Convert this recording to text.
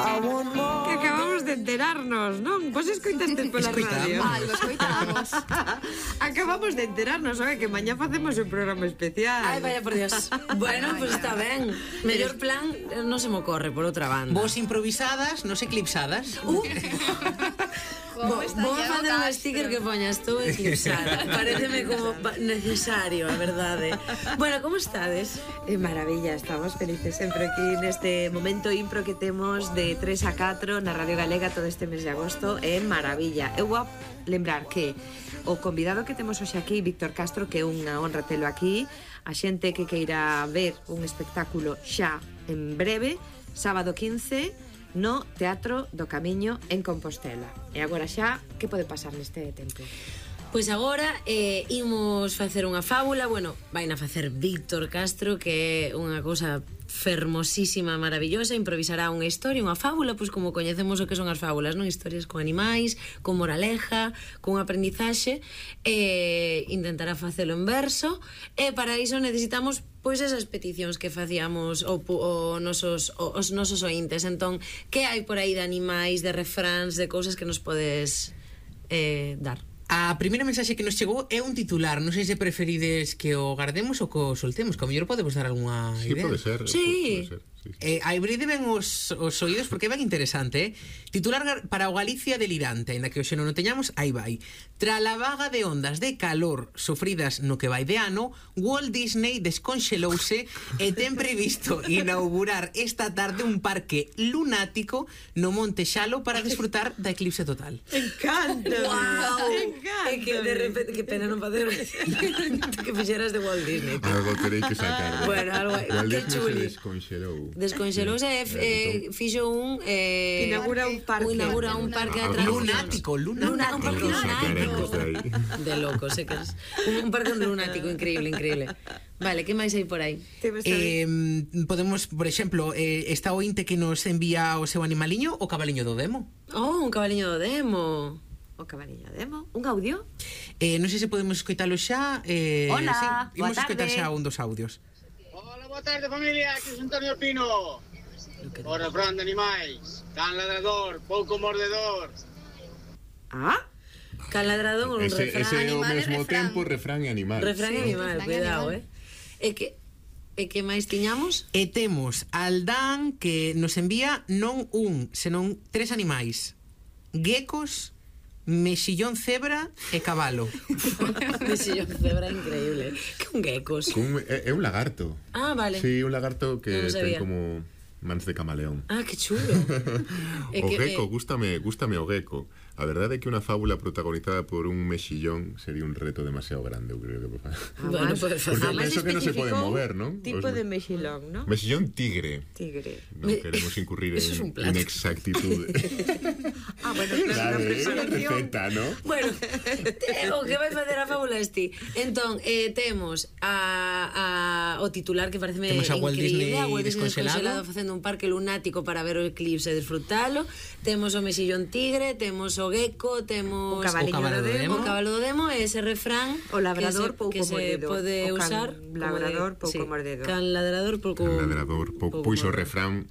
Que acabamos de enterarnos, non? Vos escoitastes pola radio? Algo escoitamos. Acabamos de enterarnos, sabe, que mañá facemos un programa especial. Ai, vaya por Dios. Bueno, pues está ben. Mellor plan non se me ocorre por outra banda. Vos improvisadas, nos eclipsadas. Vou facer un sticker que poña estou eclipsada. Pareceme como necesario, a verdade. Bueno, como estades? Maravilla, estamos felices sempre aquí neste momento impro que temos de 3 a 4 na Radio Galega todo este mes de agosto. É maravilla. Eu vou lembrar que o convidado que temos hoxe aquí, Víctor Castro, que é unha honra telo aquí, a xente que queira ver un espectáculo xa en breve, sábado 15 no Teatro do Camiño en Compostela. E agora xa, que pode pasar neste tempo? Pois agora imos facer unha fábula. Bueno, vaina facer Víctor Castro, que é unha cousa fermosísima, maravillosa. Improvisará unha historia, unha fábula, pois como coñecemos o que son as fábulas, non? Historias con animais, con moraleja, con aprendizaxe. Intentará facelo en verso. E para iso necesitamos pois esas peticións que facíamos os nosos ointes. Entón, que hai por aí de animais, de refráns, de cousas que nos podes dar? A primeira mensaxe que nos chegou é un titular. Non sei se preferides que o guardemos ou que o soltemos. Que ao mellor podemos dar algunha idea. Sí, pode ser. Sí. Pode ser, sí. Abride ben os oídos porque é ben interesante, Titular para o Galicia delirante. Ainda que hoxe non o teñamos, aí vai. Tra la vaga de ondas de calor sofridas no que vai de ano, Walt Disney desconxelouse e ten previsto inaugurar esta tarde un parque lunático no Monte Xalo para disfrutar da eclipse total. Encanta! Wow. Encanta! É que de repente, que pena non facer que fixeras de Walt Disney. Algo teréis que sacar. Bueno, algo Walt que Disney chuli. se desconxelou. Desconxelouse e fixo un inaugura un parque. Inaugura un parque de atraccións. Lunático. Un parque Lo sacaremos de aí. de locos, que es un parque lunático increíble. Vale, que máis hai por aí? Podemos, por exemplo, esta ointe que nos envía o seu animaliño, o cabaliño do demo. Oh, un cabaliño do demo. O cabaliño demo, un audio. Non sei se podemos escoitalo xa. Hola, sí, imos boa escoitar tarde. xa un dos audios. Hola, boa tarde familia, aquí é Antonio Pino. O refrán de animais, can ladrador, pouco mordedor. Ah? Can ladrador un Ese refrán. é ao animal e mesmo refrán. tempo refrán e animal. Refrán e animal, refrán e cuidado, animal. E que máis tiñamos? E temos Aldán que nos envía non un, senón 3 animais: geckos, mexillón cebra e cabalo. Mexillón cebra increíble. Que un geckos. É un lagarto. Ah, vale. Sí, un lagarto que Non ten sabía. como mans de camaleón. Ah, que chulo. O gecko, gústame o gecko. A verdade é que unha fábula protagonizada por un mexillón sería un reto demasiado grande, eu creo que Bueno, pues Porque Además penso que non se pode especificou mover, non? tipo Os- de mexilón, ¿no? Mexillón tigre. Tigre. Non queremos incurrir Eso es un plato. en inexactitude. Ah, bueno, claro, na Claro, é unha presentación. receta, non? Bueno, o que vai facer a fábula este. Entón, temos o titular que pareceme Temos a Walt increíble, Disney a Walt Disney descongelado facendo un parque lunático para ver o eclipse e disfrutalo. Temos o mexillón tigre, temos o gecko, temos O cabaliño o cabalo do do demo. o cabalo do demo e ese refrán O labrador pouco que se mordido. pode O can usar labrador pouco mordido. Can ladrador pouco Can ladrador, pois o refrán